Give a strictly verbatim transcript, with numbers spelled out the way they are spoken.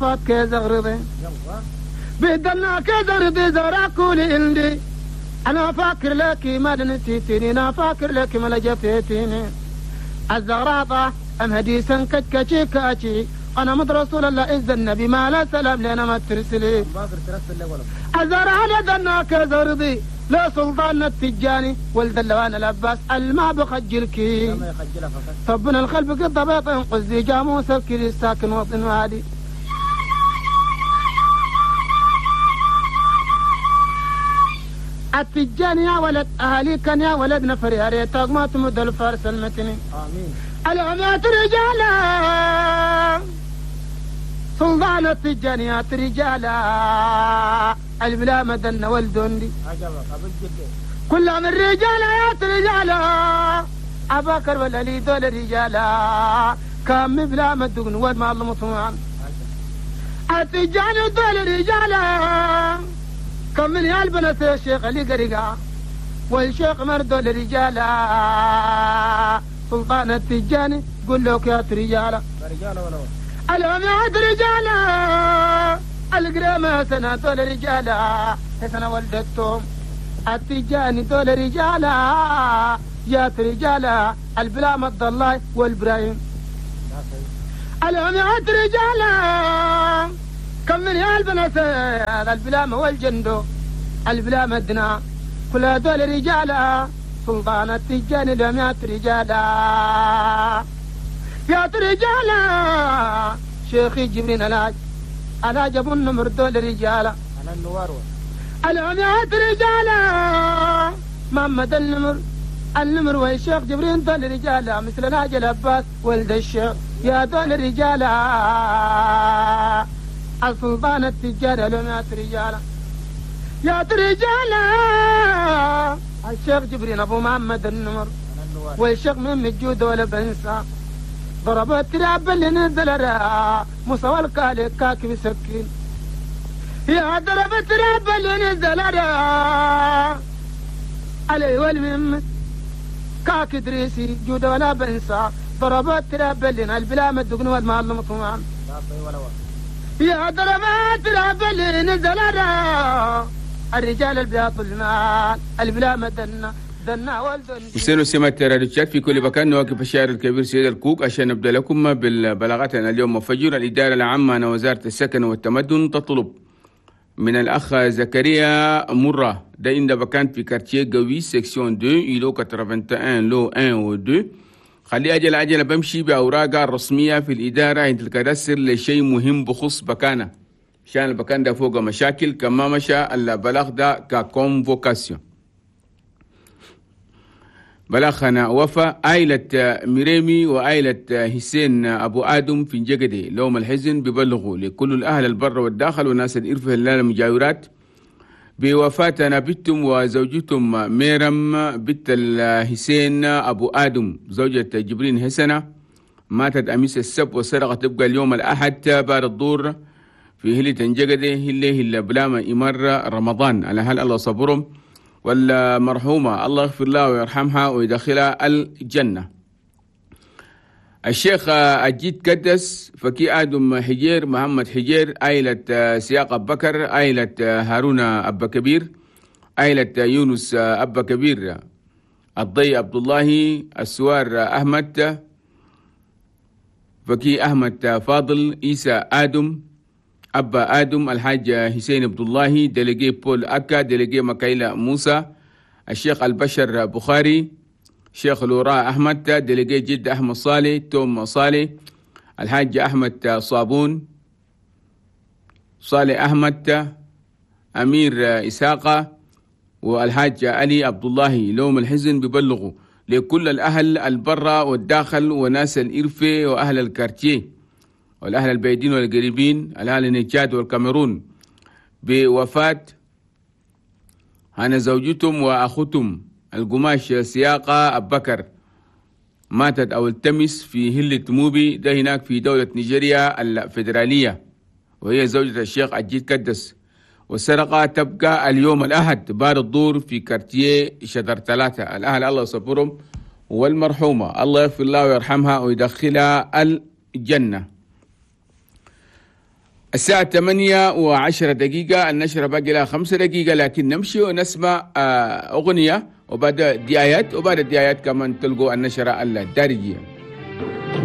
فات كزغرضي بدلنا كزغرضي زرع كل عندي أنا فاكر لك ما نسيتني أنا فاكر لك ما لجفيتني الزغراطة أم هديسا كتكتشي كاتشي أنا مد رسول الله إذ النبي ما لا سلام لنا ما ترسلي الزرع لدنا كزرضي لا سلطان التجاني ولد اللوان العباس الما بخجلكي طبنا الخلف قد بيط قزي جاموس الكري الساكن وطن وادي التجاني يا ولد أهلي كان يا ولد نفر يا ريتك ما تمد الفارس المتني آمين العمات رجالا سلطان التجانيات رجالا البلا مدن والدندي كل من رجالا يا رجالا أباكر ولا لي دول رجالا كم بلا مدن وما الله مطمعان التجاني دول رجالا كم من البنات الشيخ اللي قرقا والشيخ مردول رجالا سلطان التجاني قل لك يا رجالا العماد رجالا القرامة سنة دول رجالا سنة ولدتهم التجاني دول رجالا يا رجالا البلا مد الله والبرايم العماد رجالا كم من البنات البلامة والجندو البلامة دنا كل دول رجالا سلطان التجاني لمئة رجالا يا رجالا شيخي جبرين الهاج الهاج ابو النمر دول رجالا العميات رجالا محمد النمر النمر والشيخ جبرين دول رجالا مثل الهاج العباس ولد الشيخ يا دول رجالا السلطان التجار لمئة رجالا يا رجالا الشيخ جبرين ابو محمد النمر والشيخ من الجود ولا بنسى ضرب التراب اللي نزل را مصوى الكالي كاكب سكين يا ضرب التراب اللي نزل را علي والمم كاك دريسي جود ولا بنسى ضرب التراب اللي البلا مدقن والمال مطمعان يا ضرب التراب اللي نزل را الرجال البياض المال البلا مدنا حسين سمة راديو تشاد في كل مكان. نواكب الشاعر الكبير سيد الكوك عشان نبدا لكم بالبلاغات. اليوم فجر الإدارة العامة عن وزارة السكن والتمدن تطلب من الأخ زكريا مرة ده إن بكان في quartier قوي section اثنين îlot واحد وثمانين lot واحد و اثنين خلي أجل أجل بمشي بأوراقها الرسمية في الإدارة عند ال cadastre لشيء مهم بخص بكانة عشان البكان ده فوق مشاكل كما مشى البلاغ ده ك convocation. بلاغنا وفا عائلة ميريمي وعائلة حسين أبو آدم في جقدي لوم الحزن ببلغوا لكل الأهل البر والداخل وناس الإرفه المجاورات بوفاة بنتهم وزوجتهم ميرم بنت الحسين أبو آدم زوجة جبرين حسنة ماتت أمس السبت وسرقة تبقى اليوم الأحد بعد الظهر في هلة جقدي هلة هلة بلاما إمر رمضان على هل الله صبرهم والمرحومة الله يغفر لها ويرحمها ويدخلها الجنة. الشيخ أجيد كدس فكي آدم حجير محمد حجير عائلة سياق أبو بكر عائلة هارون أبا كبير عائلة يونس أبا كبير الضي عبد الله السوار أحمد فكي أحمد فاضل إيسى آدم أبا آدم الحاج حسين عبد الله délégué بول أكا délégué مكايلة موسى الشيخ البشر بخاري شيخ لوراء أحمد délégué جد أحمد صالح توم صالح الحاج أحمد صابون صالح أحمد أمير إساقة والحاج علي عبد الله لوم الحزن ببلغوا لكل الأهل البرة والداخل وناس الإرفة وأهل ال quartier والأهل البعيدين والقريبين الأهل النجاد والكاميرون بوفاة أنا زوجتهم وأخوتهم القماش سياقة أبكر ماتت أو التمس في هلة موبي ده هناك في دولة نيجيريا الفيدرالية وهي زوجة الشيخ أجيد كدس. والسرقة تبقى اليوم الأحد بار الدور في كارتيه شجر ثلاثة. الأهل الله يصبرهم والمرحومة الله يغفر لها ويرحمها ويدخلها الجنة. الساعة ثمانية وعشرة دقيقة، النشرة باقي لها خمسة دقيقة، لكن نمشي ونسمع آه، أغنية وبعد دعايات، وبعد الدعايات كمان تلقوا النشرة الدارجية.